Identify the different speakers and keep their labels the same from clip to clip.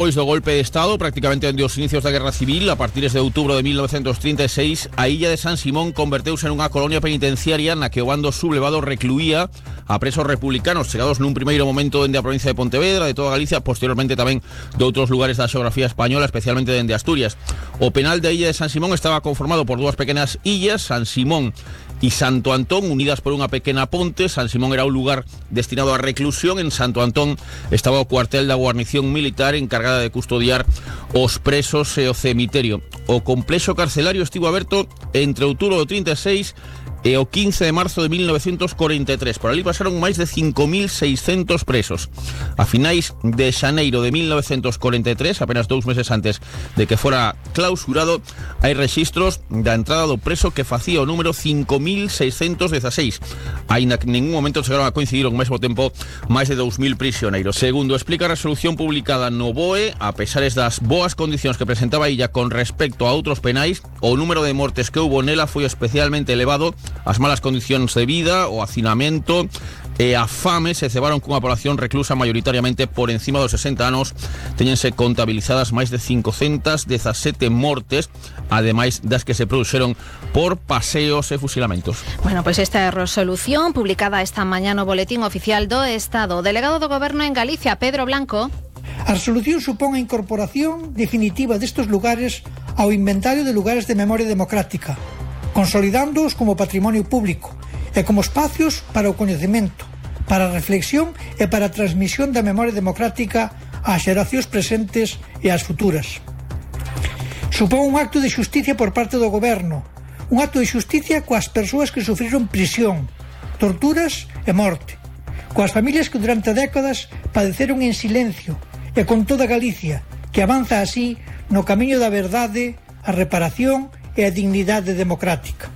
Speaker 1: Pois do golpe de Estado, prácticamente dende os inicios da Guerra Civil, a partir de outubro de 1936, a illa de San Simón converteuse en unha colonia penitenciaria na que o bando sublevado recluía a presos republicanos chegados nun primeiro momento dende a provincia de Pontevedra, de toda Galicia, posteriormente tamén de outros lugares da xeografía española, especialmente dende Asturias. O penal da illa de San Simón estaba conformado por dúas pequenas illas, San Simón y Santo Antón, unidas por unha pequena ponte. San Simón era un lugar destinado a reclusión, en Santo Antón estaba o cuartel da guarnición militar encargada de custodiar os presos e o cemiterio. O complexo carcelario estivo aberto entre outubro do 36 e o 15 de marzo de 1943. Por ali pasaron máis de 5.600 presos. A finais de xaneiro de 1943, apenas 2 meses antes de que fora clausurado, hai rexistros da entrada do preso que facía o número 5.616. Aínda que en ningún momento chegaron a coincidir ao mesmo tempo máis de 2.000 prisioneiros. Segundo explica a resolución publicada no BOE, a pesares das boas condicións que presentaba a illa con respecto a outros penais, o número de mortes que houbo nela foi especialmente elevado. As malas condicións de vida, o hacinamento e a fame se cebaron cunha población reclusa maioritariamente por encima dos 60 anos. Teñense contabilizadas máis de 517 mortes, ademais das que se produxeron por paseos e fusilamentos.
Speaker 2: Bueno, pois esta é a resolución publicada esta mañá no Boletín Oficial do Estado. O delegado do Goberno en Galicia, Pedro Blanco.
Speaker 3: A resolución supón a incorporación definitiva destes lugares ao inventario de lugares de memoria democrática, consolidándoos como patrimonio público e como espacios para o coñecemento, para a reflexión e para a transmisión da memoria democrática ás xeracións presentes e ás futuras. Supón un acto de xusticia por parte do Goberno, un acto de xusticia coas persoas que sufriron prisión, torturas e morte, coas familias que durante décadas padeceron en silencio e con toda Galicia, que avanza así no camiño da verdade, a reparación e a dignidade democrática.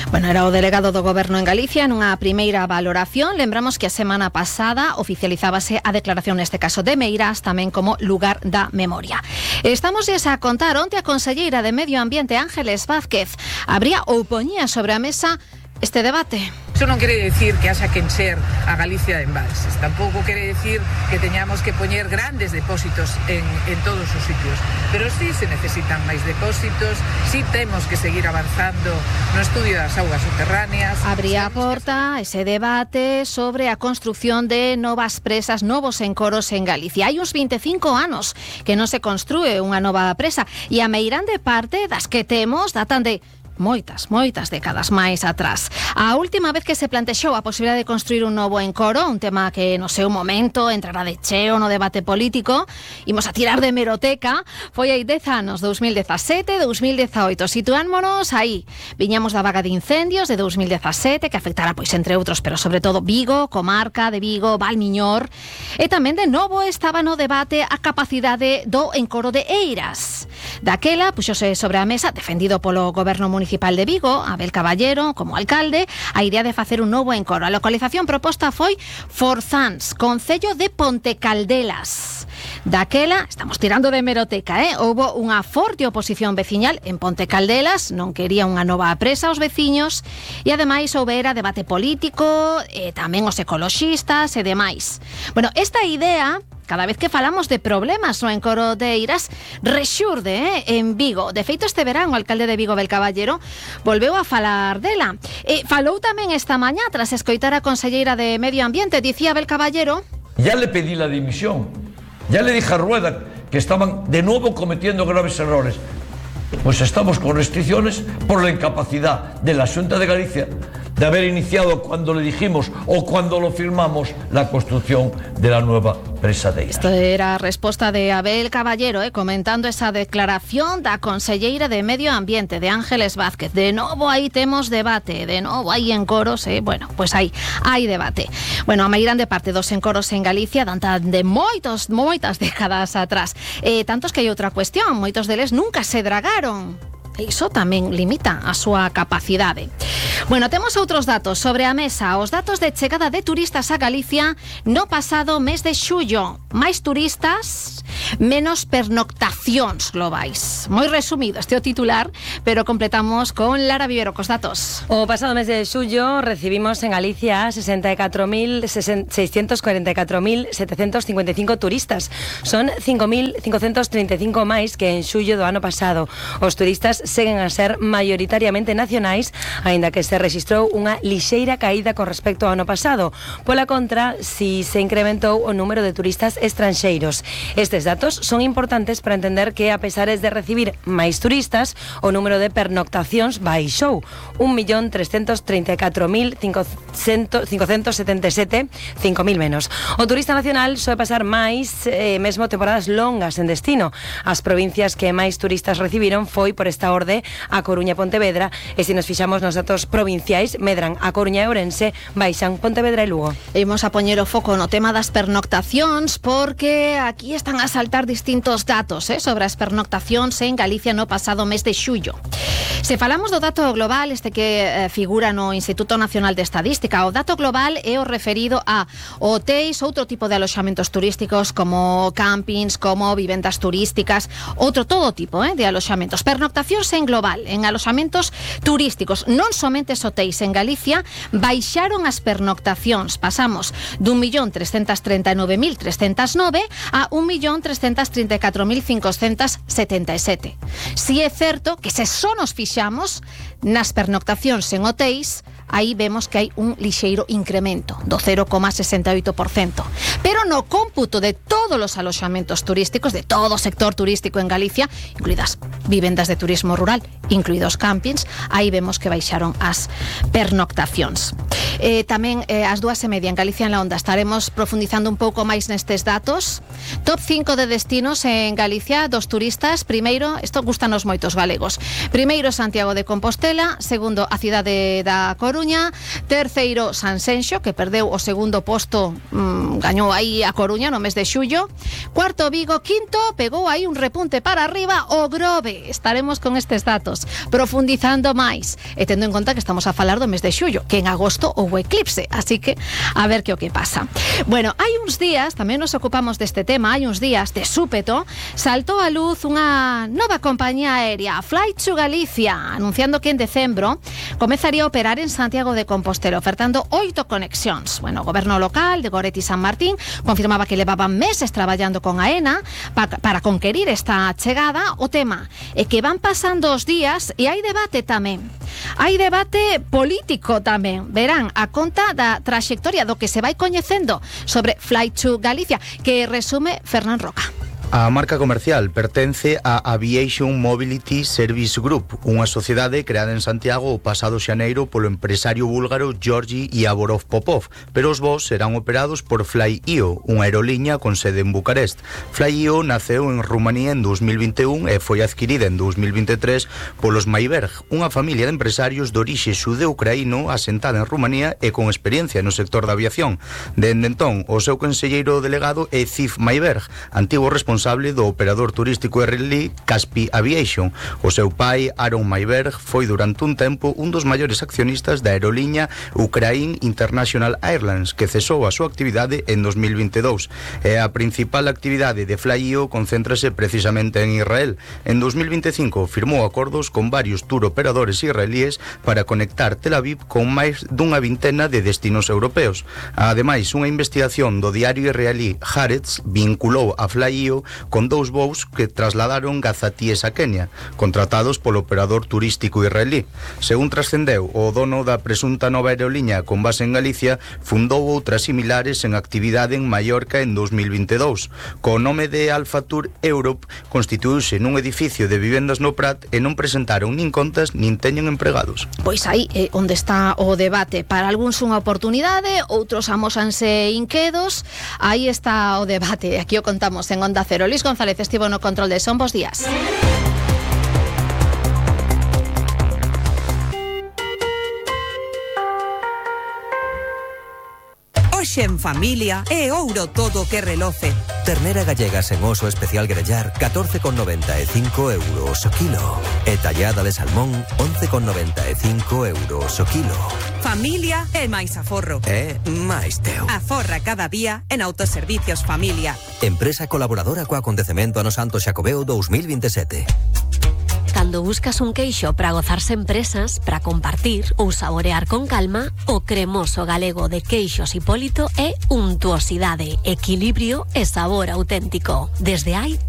Speaker 2: Bueno, era o delegado do Goberno en Galicia nunha primeira valoración. Lembramos que a semana pasada oficializábase a declaración neste caso de Meirás tamén como lugar da memoria. Estamos a contar onte a conselleira de Medio Ambiente Ángeles Vázquez abría ou poñía sobre a mesa este debate.
Speaker 4: Eso non quere decir que haxa que encher a Galicia de embalses, tampouco quere decir que teñamos que poñer grandes depósitos en todos os sitios, pero sí se necesitan máis depósitos, sí temos que seguir avanzando no estudio das augas subterráneas.
Speaker 2: Abría a porta ese debate sobre a construción de novas presas, novos encoros en Galicia. Hai uns 25 anos que non se construe unha nova presa e a meirande parte das que temos datan de moitas décadas máis atrás. A última vez que se plantexou a posibilidade de construir un novo encoro, un tema que no seu momento entrará de cheo no debate político, imos a tirar de hemeroteca, foi hai 10 anos, 2017, 2018, situámonos aí. Viñamos da vaga de incendios de 2017, que afectará, pois, entre outros, pero sobre todo Vigo, comarca de Vigo, Valmiñor, e tamén de novo estaba no debate a capacidade do encoro de Eiras. Daquela, puxose sobre a mesa, defendido polo Goberno Municipal de Vigo, Abel Caballero, como alcalde, a idea de facer un novo encoro. A localización proposta foi Forzans, concello de Pontecaldelas. Daquela, estamos tirando de hemeroteca, houbo unha forte oposición veciñal en Pontecaldelas, non quería unha nova presa aos veciños, e ademais houbera debate político, e tamén os ecoloxistas e demais. Bueno, esta idea, cada vez que falamos de problemas no encoro de Eiras, rexurde en Vigo. De feito, este verán o alcalde de Vigo, Abel Caballero, volveu a falar dela. Falou tamén esta mañá tras escoitar a conselleira de Medio Ambiente. Dicía Abel Caballero:
Speaker 5: ya le pedí la dimisión, ya le dije a Rueda que estaban de nuevo cometiendo graves errores. Pues estamos con restricciones por la incapacidad de la Xunta de Galicia de haber iniciado cuando le dijimos o cuando lo firmamos la construcción de la nueva presa de Eiras.
Speaker 2: Esta era a resposta de Abel Caballero, comentando esa declaración da conselleira de Medio Ambiente, de Ángeles Vázquez. De novo aí temos debate, de novo aí encoros, bueno, pois aí hai debate. Bueno, a meirande parte dos encoros en Galicia datan de moitas décadas atrás. Tantos que hai outra cuestión, moitos deles nunca se dragaron. Iso tamén limita a súa capacidade. Bueno, temos outros datos sobre a mesa. Os datos de chegada de turistas a Galicia no pasado mes de xullo. Máis turistas Menos pernoctacións globais. Moi resumido este o titular, pero completamos con Lara Vivero cos datos.
Speaker 6: O pasado mes de xullo recibimos en Galicia 644.755 turistas. Son 5.535 máis que en xullo do ano pasado. Os turistas seguen a ser maioritariamente nacionais, aínda que se rexistrou unha lixeira caída con respecto ao ano pasado. Pola contra, si se incrementou o número de turistas estranxeiros. Estes datos son importantes para entender que, a pesares de recibir máis turistas, o número de pernoctacións baixou 1.334.577, 5.000 menos. O turista nacional soe pasar máis, mesmo temporadas longas en destino. As provincias que máis turistas recibiron foi, por esta orde, a Coruña e Pontevedra, e se nos fixamos nos datos provinciais, medran a Coruña e Ourense, baixan Pontevedra e Lugo.
Speaker 2: Imos a poñer o foco no tema das pernoctacións, porque aquí están a saltar distintos datos sobre as pernoctacións en Galicia no pasado mes de xullo. Se falamos do dato global, este que figura no Instituto Nacional de Estadística, o dato global é o referido a hotéis, outro tipo de aloxamentos turísticos como campings, como vivendas turísticas, todo tipo de aloxamentos. Pernoctacións en global, en aloxamentos turísticos, non somente os hotéis en Galicia, baixaron as pernoctacións. Pasamos dun 1.339.309 a 1.334.577. Si é certo que se só nos fixamos nas pernoctacións en hotéis, aí vemos que hai un lixeiro incremento do 0,68%. Pero no cómputo de todos os aloxamentos turísticos, de todo o sector turístico en Galicia, incluídas vivendas de turismo rural, incluídos campings, aí vemos que baixaron as pernoctacións. Tamén ás 2:30 en Galicia en la Onda estaremos profundizando un pouco máis nestes datos. Top 5 de destinos en Galicia dos turistas. Primeiro, isto gustanos moitos galegos. Primeiro, Santiago de Compostela. Segundo, a cidade da Coruña. Terceiro, Sanxenxo, que perdeu o segundo posto, gañou aí a Coruña no mes de xullo. Cuarto, Vigo. Quinto, pegou aí un repunte para arriba o Grove. Estaremos con estes datos profundizando máis e tendo en conta que estamos a falar do mes de xullo, que en agosto houbo eclipse, así que a ver que o que pasa. Bueno, hai uns días, tamén nos ocupamos deste tema, hai uns días de súpeto saltou a luz unha nova compañía aérea, Flight to Galicia, anunciando que en decembro comezaría a operar en Santiago de Compostela, ofertando 8 conexións. Bueno, o goberno local de Goretti San Martín confirmaba que levaban meses traballando con AENA para conquerir esta chegada. O tema é que van pasando os días e hai debate tamén. Hai debate político tamén. Verán a conta da traxectoria do que se vai coñecendo sobre Flight to Galicia, que resume Fernán Roca.
Speaker 7: A marca comercial pertence a Aviation Mobility Service Group, unha sociedade creada en Santiago o pasado xaneiro polo empresario búlgaro Georgi Yavorov Popov, pero os voos serán operados por Fly.io, unha aeroliña con sede en Bucarest. Fly.io naceu en Rumanía en 2021 e foi adquirida en 2023 polos Mayberg, unha familia de empresarios de orixe xudeo-ucraíno asentada en Rumanía e con experiencia no sector da aviación. Dende entón, o seu conselleiro delegado é Ziv Mayberg, antigo responsable do operador turístico israelí Kaspi Aviation. O seu pai, Aaron Mayberg, foi durante un tempo un dos maiores accionistas da aeroliña Ukraine International Airlines, que cesou a súa actividade en 2022. E a principal actividade de Fly.io concéntrase precisamente en Israel. En 2025 firmou acordos con varios tour operadores israelíes para conectar Tel Aviv con máis dunha vintena de destinos europeos. Ademais, unha investigación do diario israelí Haaretz vinculou a Fly.io con 2 voos que trasladaron gazatíes a Kenia, contratados polo operador turístico israelí. Según trascendeu, o dono da presunta nova aeroliña con base en Galicia fundou outras similares en actividade en Mallorca en 2022. Co nome de Alpha Tour Europe, constituíuse nun edificio de vivendas no Prat e non presentaron nin contas nin teñen empregados.
Speaker 2: Pois aí é onde está o debate. Para algúns unha oportunidade, outros amósanse inquedos. Aí está o debate. Aquí o contamos en Onda Cero. Luis González estivo no control de son. Bos días.
Speaker 8: peixe en familia e ouro todo que reloce.
Speaker 9: Ternera gallega sen oso especial grellar 14,95 euros o kilo. E tallada de salmón 11,95 euros o kilo.
Speaker 8: Familia e máis aforro.
Speaker 9: E máis teu.
Speaker 8: Aforra cada día en Autoservicios Familia.
Speaker 9: Empresa colaboradora co acontecemento Ano Santo Xacobeo 2027.
Speaker 10: Cando buscas un queixo para gozarse en presas, para compartir ou saborear con calma, o cremoso galego de Queixos Hipólito é untuosidade, equilibrio e sabor auténtico. Desde hai 30